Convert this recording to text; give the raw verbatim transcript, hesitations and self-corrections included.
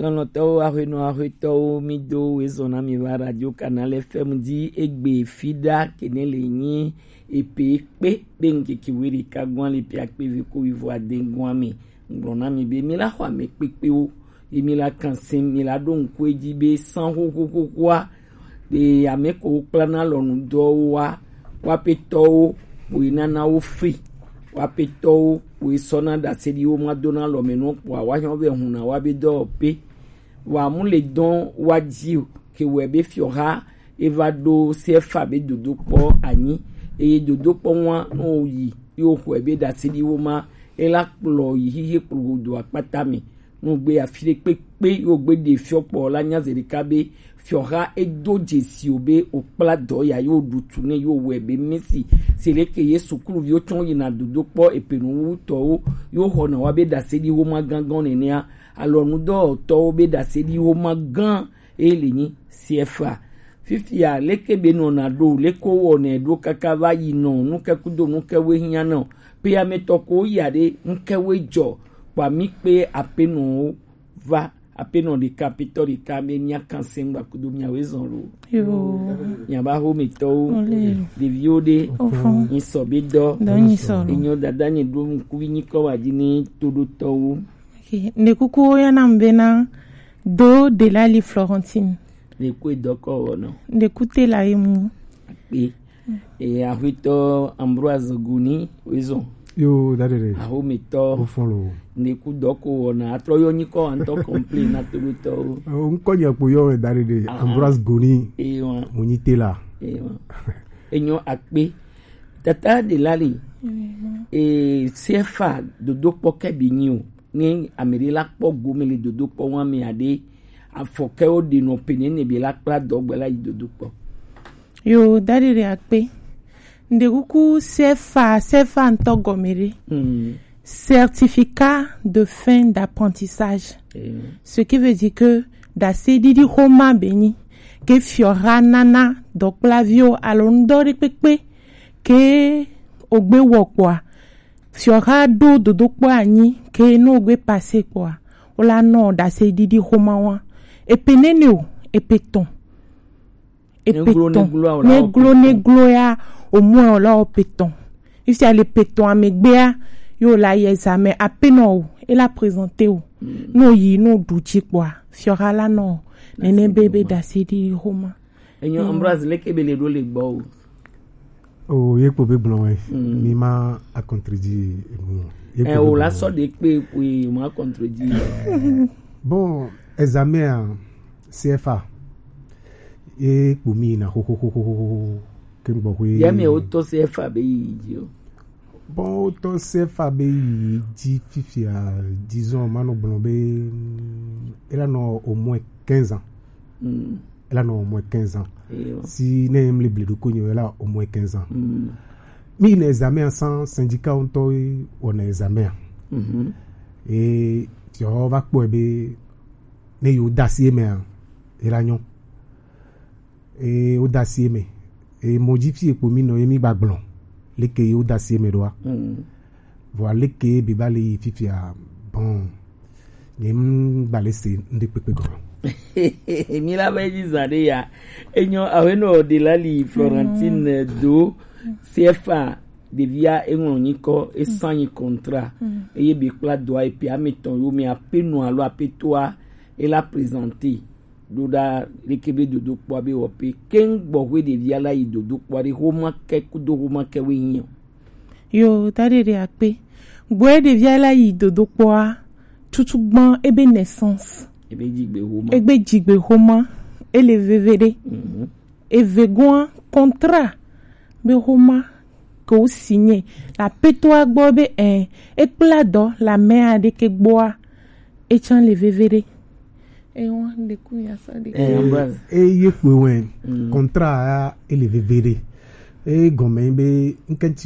Lɔlɔ̃tɔwo, aƒenɔ, aƒetɔwo, mi do wezɔn na mi va Radio Canal F M di egbe fi ɖa kene le nyi epe kpe be ŋkeke we ɖeka gɔn le pe akpe vi ko wivo ade gɔn me. Ŋgblɔ na mi be mi la xɔ ame kpekpewo, ye mi la kan se, mi la ɖo ŋku edzi be san xoxoxoxoa ɖe ame ko kplana lɔnu dɔwo wa, wa petɔwo, wo nana wo fe, wa petɔwo, wo sɔna ɖase ɖi wo ma dona lɔme nɔ kpɔa, wa nyɔ be huna wa be dɔwɔpe. Wa mu le dɔn wa dzi o, ke wɛ be fiɔha e va ɖo sefa be dodokpɔ anyi, eye dodokpɔ ŋua nɔ yi, yo xɔe be ɖase ɖi wo ma, e la kplɔ yi xixe kplo godo akpata me. Nugbe afi ɖe kpekpe yo gbe ɖe fiɔ kpɔ la nya zeɖeka be fiɔha edo dzesi o be o kpla dɔ ya yo ɖutu ne yo wɛ be misi. Se leke ye sukluviwo tsɔ yina dodo kpɔ epe nu wutɔwo yo xɔna wa be ɖase ɖi wo ma gangan nenea. Alɔ nudɔwɔtɔwo be ɖase ɖi wo ma gan e le nyi C F A. Fifia leke be nɔna ɖo, leke wɔnɛ ɖo kaka va yi nɔ, nukɛ kudo nukɛ we hiã nɔ. Pe ametɔ ko ya ɖe nukɛ we jɔ, kpa mi kpe apenɔwo va, apenɔ ɖeka, aƒetɔ ɖeka, be mia kan se ŋgba kudo mia we zɔn lo. Yo. Mia ba ho mi tɔwo, Ole. Ɖeviwo ɖe, Ofo. Nyi sɔ be dɔ. Dɔ nyi sɔ lo. Enyo dada nyi ɖo ŋkuvi nyi kɔ wa dzi ni to ɖo tɔwo. Ok. Nde kuku ya na mbe na do de la li Florentine. Ne kue dɔkɔ wɔ nɔ. Nde kute la emu. Akpe. E, aƒetɔ Ambroise Goni, wezɔn. Yo, dade ɖe. Ahometɔ. Ofɔn lo. Ne ku dɔ ko wɔna, atrɔ yɔ nyikɔ antɔ complain na toɖotɔwo. O, ŋkɔ nye kpo yɔ dade ɖe. Aha. Ambroise Goni. E, wa. Mo nyi tela. E, wa. Enyo akpe. Tata de la li. E, C F A dodo kpɔ kɛ bi nyi o. Ne ame ɖe la kpɔ gome le dodo kpɔ wa me aɖe, afɔkɛwo ɖe nɔ pe ne ne be la kpla dɔgbe la yi dodo kpɔ. Yo, dadi ɖe akpe. Nde kuku sefa, sefa ŋutɔ gɔme ɖe. Mm. Certificat de fin d'apprentissage. Eh. Ce qui veut dire que ɖaseɖiɖi xoma be nyi ke fiɔha nana dɔkplaviwo alo ŋdɔ ɖe kpekpe ke ogbe wɔ kpɔa, fiɔha ɖo dodokpɔ anyi ke no ogbe pase kpɔa, wola nɔ ɖaseɖiɖi xoma wa. Epe nene o, epe tɔn. Epe tɔn. Neglo, neglo, neglo ya, omɔ la o pe tɔn. Ifia le pe tɔn amegbea, yo la yi examen apenɔ o, e la présenter o. Mm. No yi, no ɖu dzi kpɔa, fiɔha la nɔ nene be be ɖaseɖiɖi xoma. Enyo, mm. Ambroise, leke be le ɖo le gbɔ o. O, ye kpo be gblɔ wɛ. Mm. Mi ma a contredire enu. Ye kpo be gblɔ wɛ. Eh, o la sɔ de kpe, oui, ma contredire. Bon, examen a, C F A. E kpo mi na xoxoxoxo ke gbɔ xwe. Ya mi o to C F A be yi dzi o. Bon, o to C F A be yi dzi fifia, disons, ma nɔ gblɔ be, mm, e la nɔ au moins quinze ans. Mm. E la nɔ au moins quinze ans. Eyo. Si ne mi le bledo ko nyo, e la au moins quinze ans. Mm. Mi na examen a san syndicat ŋutɔ wɔna examen a. Mhm. E, ti o va kpɔe be, ne yo dasi eme a, e la nyo. E, wo dasi eme. E, mo dzi fi ekpo mi nɔ, ye mi gba gblɔ. Leke ye wo dasi eme ɖoa. Mm. Vɔa leke be ba le yi fifia, bon. Nye m gba le se ŋɖe kpekpe gɔ. Mi la be dzi zã ɖe ya. Enyo, awe no de la li Florentine, mm, do C F A. Ɖevia eŋlɔ nyikɔ, esanyi contrat, mm, eye be kpla dɔa epe ame tɔn yo me apenɔ alo apetoa, e la présenter ɖo ɖa leke be dodokpɔa be wɔ pe keŋ gbɔxwe ɖevia la yi dodokpɔa ɖe xoma ke kudo xoma ke we nyi o. Yo, ta ɖe ɖe akpe. Gbɔe ɖevia la yi dodokpɔa, tutu gbɔn ebe naissance. Ebe dzigbe xoma. Ebe dzigbe xoma, ele veve ɖe. Mhm. Evegoa, contrat be xoma ke wo signé le apetoa gbɔ be, eh, e kpla dɔ le ame aɖe ke gbɔa, e tsã le veve ɖe. E wa le ku ya sa de. Eh, Ambroise. E ye kpe wɛ, mm, contrat ya e le veve ɖe. E gɔme be ŋkɛntsi